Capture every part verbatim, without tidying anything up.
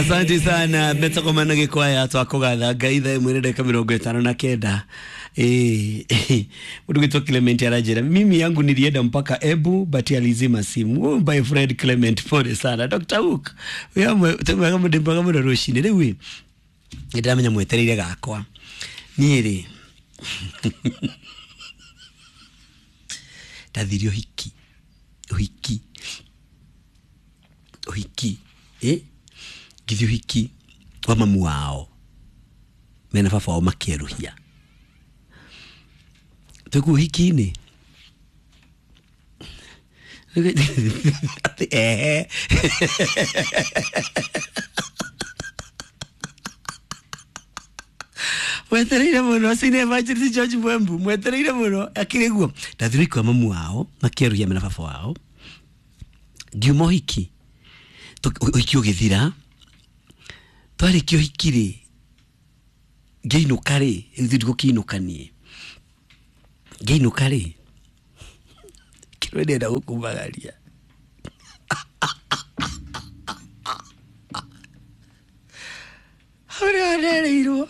Asante sana metakomana gikwaya twakugatha Ngai thaa ĩmwe na ndagĩka mĩrongo ĩtano na kenda. Eh, mũndũ gwĩtwo Clement aranjĩra mimi yangu nilienda mpaka Ebu but alizima simu. Oh, my friend Clement, pole sana. Doctor Hook wĩhamwe twĩmwega mũndũ mũno rũcinĩ rĩu ĩ nĩndĩramenya mwetereire gakwa niĩ rĩ ndathire ũhiki ũhiki ũhiki eh ngĩthiĩ ũhiki wa mamu wao mena baba wao makĩerũhia twĩkuo ũhiki-inĩ atĩ ehe mwetereire mũno senior evangelist George Mwembu mwetereire mũno akĩrĩ guo ndathire ũhiki wa mamu wao makĩerũhia mena baba wao ngiuma ũhiki ũhiki ũgĩthira twarĩkia ũhiki rĩ ngĩinũka rĩ ithuĩ ndigũkĩinũka niĩ ngĩinũka rĩ kĩrĩa ndĩrenda gũkumagaria hau nĩho ndereirwo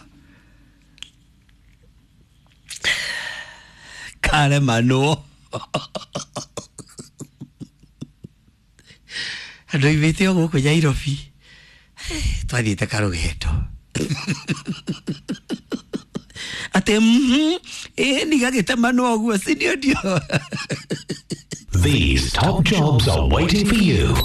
karemanwo andũ aimĩte o gũkũ Nairobi twathiĩte karũgendo atĩ mhm ĩĩ ndigagĩtemanwo ũguo sindio ndio. These top jobs are waiting for you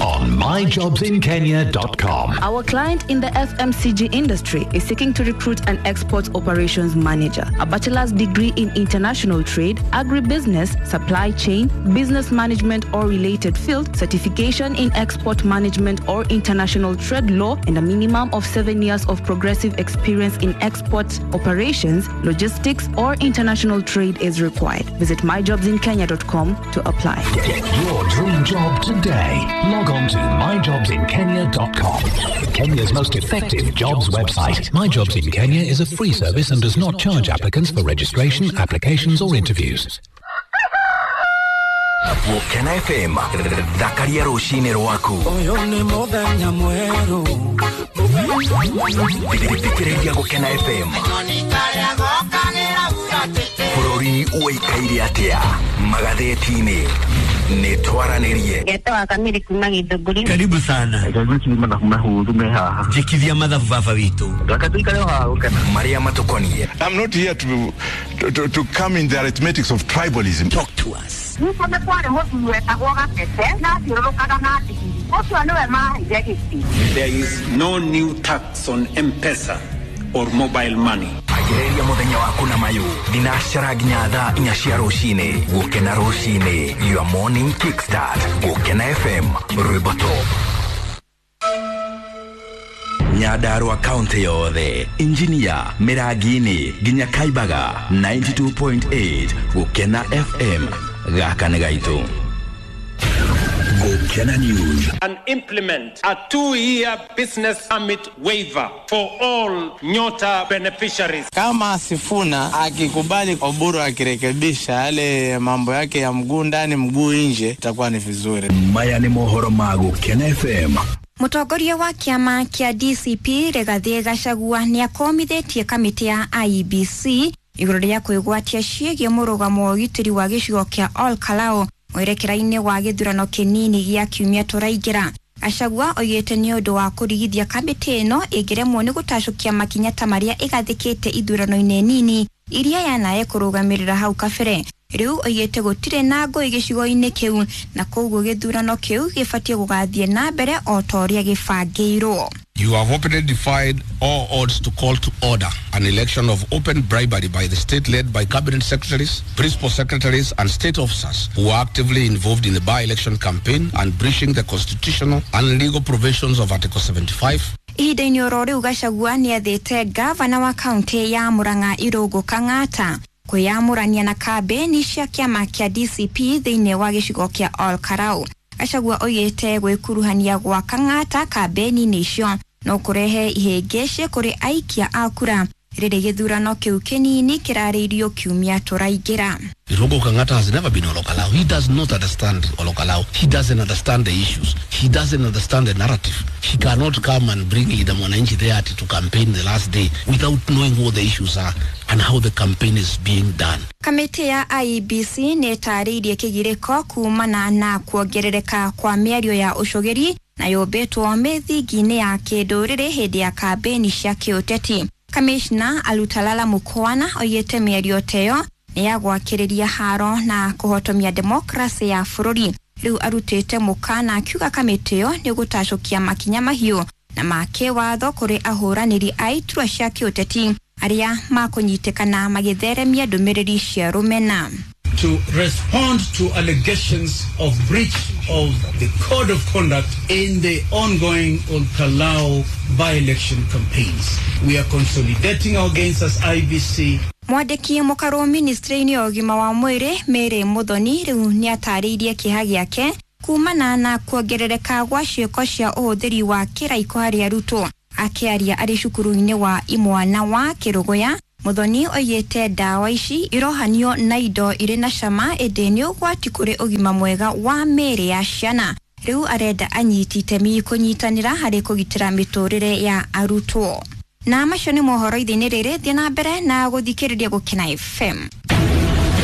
on my jobs in kenya dot com. Our client in the F M C G industry is seeking to recruit an export operations manager, a bachelor's degree in international trade, agribusiness, supply chain, business management or related field, certification in export management or international trade law, and a minimum of seven years of progressive experience in export operations, logistics, or international trade is required. Visit my jobs in kenya dot com to apply. Get your dream job today. Log on to my jobs in kenya dot com. Kenya's most effective jobs website. My Jobs in Kenya is a free service and does not charge applicants for registration, applications or interviews. Gũkena F M, thakaria rũcinĩ rwaku. Ũyũ nĩ mũthenya mwerũ. Thikĩrĩria Gũkena F M. Bũrũri ũikaire atĩa magathĩti-inĩ nĩ twaranĩrie. Ngetwa Kamiri kuma Githũngũri. Karibu sana. Njĩkithia mathabu baba witũ. Marĩa matũkoniĩ. I'm not here to, to, to come in the arithmetics of tribalism. Talk to us. Nĩguo nĩ kwarĩ mũthuri wetagwo Gatete na athiũrũrũkaga na ndigiri. Ũcio nĩwe maheire gĩtĩ. There is no new tax on M-Pesa or mobile money. Ambĩrĩria mũthenya waku na mayũ thinacara nginya thaa inya cia rũcinĩ. Gũkena rũcinĩ, your morning kickstart. Gũkena F M, rwĩmbo top. Nyandarua kaunti yothe, Injinia, Mĩrangi-inĩ nginya Kaibaga, ninety-two point eight Gũkena F M, gaka nĩ gaitũ. Gũkena News. And implement a two-year business permit waiver for all Nyota beneficiaries. Kama Sifuna akikubali Oburu akirekebisha yale mambo yake ya mguu ndani mguu nje, itakuwa ni vizuri. Maya ni mohoro ma Gũkena F M. Mũtongoria wa kĩama kĩa D C P Rigathĩ Gachagua nĩakomithĩtie kamĩtĩ ya I E B C igũrũ rĩa kwĩgwatia ciĩgiĩ mũrũgamo wa ũgitĩri wa gĩcigo kĩa Ol Kalou mwerekera-inĩ wa gĩthurano kĩnini gĩa kiumia tũraingĩra. Gachagua oigĩte nĩ ũndũ wa kũrigithia kamĩtĩ ĩno ĩngĩremwo nĩ gũtacũkia makinya ta marĩa ĩgathĩkĩte ithurano-inĩ nini iria yanaye kũrũgamĩrĩra hau kabere. Rĩu oigĩte gũtirĩ na ngũĩ gĩcigo-inĩ kĩu na koguo gĩthurano kĩu gĩbatiĩ gũgathiĩ na mbere o ta ũrĩa gĩbangĩirwo. You have openly defied all odds to call to order an election of open bribery by the state led by cabinet secretaries, principal secretaries and state officers who are actively involved in the by-election campaign and breaching the constitutional and legal provisions of Article seventy-five. Ihinda-inĩ oro rĩu Gachagua nĩathĩte gavana wa kaunti ya Murang'a Irũngũ Kang'ata kwĩyamũrania na kambĩni cia kĩama kĩa D C P thĩinĩ wa gĩcigo kĩa Ol Kalou. Gachagua oigĩte gwĩkuruhania gwa Kang'ata kambĩni-inĩ icio no kũrehe ihĩngĩcĩ kũrĩ aikia a kura Rĩrĩ gĩthurano kĩu kĩnini kĩrarĩirio kiumia tũraingĩra. Irungu Kang'ata has never been Olokalao. He does not understand Olokalao. He doesn't understand the issues. He doesn't understand the narrative. He cannot come and bring Linda Mwananchi there to campaign the last day without knowing what the issues are and how the campaign is being done. Kamĩtĩ ya I E B C nĩ ĩtarĩirie kĩgirĩko kumana na kuongerereka kwa mĩario ya ũcũgĩri na yũmbĩtwo mĩthingi-inĩ ya kĩndũrĩrĩ hĩndĩ ya kambĩni cia kĩũteti. Kamishna Alutalala Mukwana oigĩte mĩario ta ĩyo nĩ ya gwakĩrĩria haro na kũhotomia demokrasi ya bũrũri. Rĩu arutĩte mũkana akiuga kamĩtĩ ĩyo nĩ gũtacũkia makinya mahiũ na ma kĩwatho kũrĩ ahũranĩri a iturwa cia kĩũteti arĩa makũnyitĩkana magĩtheremia ndũmĩrĩri cia rũmena. To respond to allegations of breach of the code of conduct in the ongoing Olkalou by-election campaigns. We are consolidating our gains as I B C. Mwandĩki mũkarũ ministry-inĩ ya ũgima wa mwĩrĩ Mary Muthoni rĩu nĩatarĩirie kĩeha gĩake kumana na kuongerereka gwa ciĩko cia ũhũthĩri wa kĩraiko harĩ arutwo. Akĩaria arĩ cukuru-inĩ wa Imwana wa Kĩrũgũya, Muthoni oigĩte ndawa ici irohanio na indo irĩ na cama ĩndĩ nĩ ũgwati kũrĩ ũgima mwega wa mĩĩrĩ ya ciana. Rĩu arenda anyiti itemi kũnyitanĩra harĩ kũgitĩra mĩtũrĩre ya arutwo. Na macio nĩ mohoro ithĩ-inĩ rĩrĩ, thiĩ na mbere na gũthikĩrĩria Gũkena F M.